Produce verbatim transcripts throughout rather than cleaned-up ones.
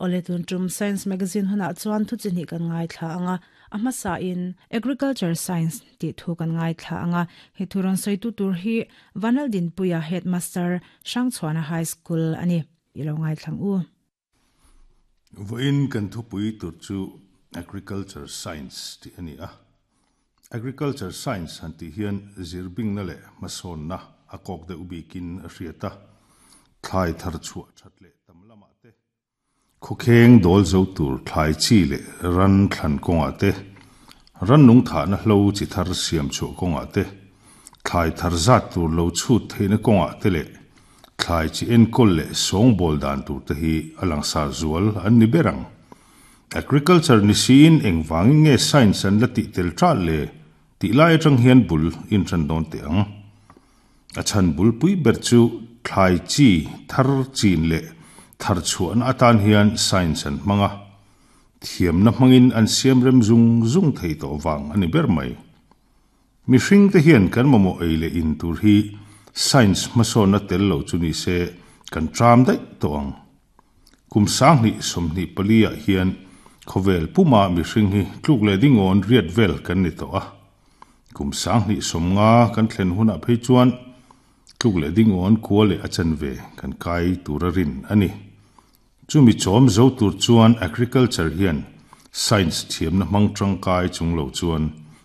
Ole tun tum Science Magazine huna chuan thu chi ni kan ngai thla anga a sa in agriculture science ti thu kan ngai thla anga he thuron soi tu tur hi Vanal Din Puya headmaster Hrangchhuana High School ani ilo ngai thlang u. Voin kan thu pui tur chu agriculture science ti ani a. Agriculture science han ti hian zirbing na le mason na a kok de ubikin a hriata thlai thar chu thatle tam lama te khukheng dol zo tur thlai chi le ran thlan konga te ran nung tha na hlo chi thar siam chu konga te thlai thar zat tur lo chu theina konga te le thlai chi en kol le song bol dan tur te hi alang sa zual an ni berang. Agriculture ni siin engwang nge science an la ti tel tra le ti lai atang hian bul in tran don te ang a chan bul pui ber chu thlai chi thar chin le thar chuan atan hian science an manga thiam na mangin an siam rem zung zung thei to wang ani ber mai. Mi hring te hian kan momo eile in tur hi science maso na tel lo chu ni se kan tram dai to ang. Kum sang ni som ni palia hian khovel puma mi hring hi tluk le dingon riat vel kan ni to a. Kum sang ni som nga kan thlen huna phei chuan tluk le dingon kuale achan ve kan kai turarin ani. Chumi chom zo tur chuan agriculture hian science thiam na mang tang kai chung lo chuan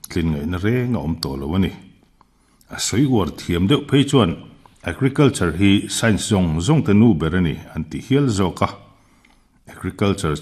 tlin ngai na re nga om to lo ani. A soi war thiam deuh phei chuan agriculture hi science zong zong te nu ber ani an ti hial zo ka. Agriculture